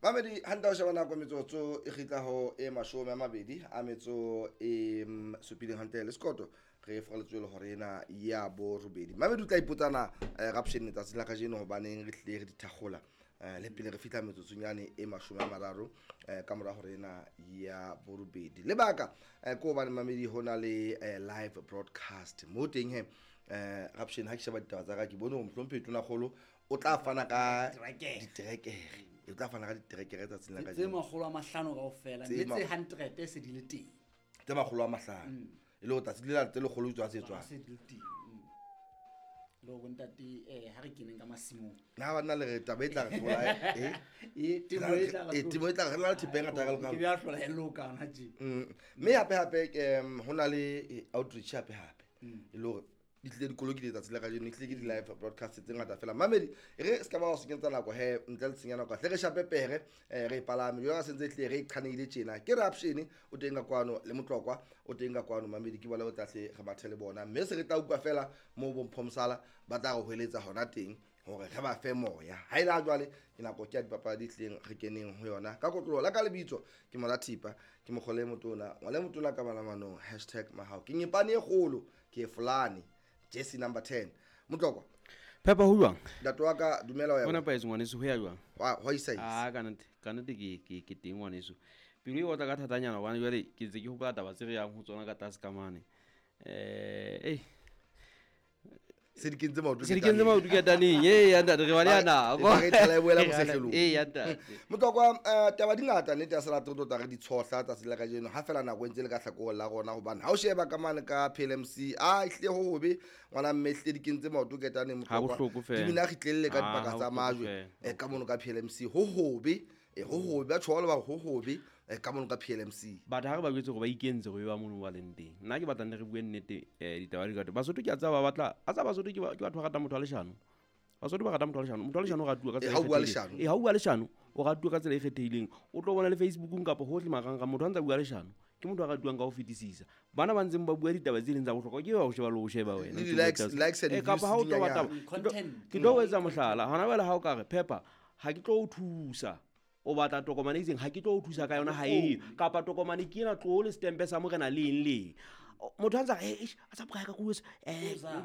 Mamedi hantle o sheba nako metsotso e kgitla ho e 27 hantle le sekoto re foraletswe le hore ena ya borobedi. Mamedi o tla ipotsana raption letsatsi la kajeno hobaneng re tlile re dithakgola le pele re fihla metsotsonyane e 30 ka mora hore ena ya borobedi. Lebaka ke hobane mamedi ho na le live broadcast mo teng he raption ha ke sheba ditaba tsa ka ke bone hore mohlomphehi Tonakgolo o tla fana ka diterekere. O tla fana ka diterekere tsatsing la kajeno. Tse 500 kaofela, mme tse 100 se di le teng. Tse 500. E le hore tsatsi le tse lekgolo tswa tse tswang. Se di le teng. Le hore ntate ha re keneng ka masimong. Na ba nna le re taba e tla re hlola temo e tla re temo e tla re la thepa e ngata ka. Ke bya hlola e loka hona tje. Mme hape hape ho na le outreach hape hape. E le hore di tlile dikolo ke letsatsi la kajeno, di tlile ke di-live broadcast tse ngata fela. Mamedi e re se ka ba wa senyetsa nako he, ntle le tsenya nako hle re shape pere re palame jwalo ka sentse tlile re qhaneile tjena. Ke Raption o teng ka kwano le Motlokwa o teng ka kwano. Mamedi ke bona bo tla hle re mathe le bona, mme se re tla utlwa fela mo bomphomsala ba tla re hweletsa hona teng hore re ba fe moya. Ha ile jwale ke nako ke ya dipapadi tleng re keneng ho yona ka kotlolo la ka lebitso ke Molathipa ke mokgole motona ngwane motona ka bana manong #mahao ke nyepane e kgolo ke fulane Jesse number 10. Motlokwa. Peppa ho jwang? Ntate wa ka dumela wa. Bona paetse ngwaneso ho ya jwang? Wa isa isa. Ah kana ke ke teng ngwaneso. Pelo e otla ka thatanyana hobane jwale ke ntse ke hopola taba tse re yang ho tsona ka tlase ka mane. Se di kentse maoto. Se di kentse maoto ke taneng. Ya ntate re ba le yana. Re tla e boela mosehlelong. Ya ntate. Motlokwa taba di ngata nnete ya selato tota re di tshohla tsatsi la kajeno ha fela nako e ntse le ka hlakoreng la rona hobane ha o sheba ka mane ka PLMC a ehlile ho hobe ngwana mme ehlile di kentse maoto ke taneng Motlokwa. Di bina kgitlelle ka dipaka tsa majwe ka mono ka PLMC ho hobe ho hobe ba tshola ba ho hobe ka mono ka PLMC. Batho ha re ba jwetse hore ba ikentse hore ba mono ba leng teng. Nna ke batla nne re bue nnete ditaba di ka. Basotho ke a tsaba ba batla, a tsaba Basotho ke batho ba ratang motho wa leshano. Basotho ba rata motho wa leshano. Motho wa leshano o ratuwa ka tsela e kgethehileng. Ha o bua leshano, o ratuwa ka tsela e kgethehileng. O tlo bona le Facebookong kapa hohle marangrang motho a ntsa bua leshano. Ke motho a ratuwang ka ho fetisisa. Bana ba ntseng ba bua ditaba tse leng tsa bohlokwa ke ba o sheba le o sheba wena. Likes and kapa ha o tlo batla ke tlo etsa mohlala. Hona jwale ha o ka re Peppa ha ke tlo o thusa. O batla tokomane e itseng ha ke tlo o thusa ka yona ha e kapa tokomane ke ena tlo le stempe sa morena le eng le. Motho a ntsa a sa bokae ka kuo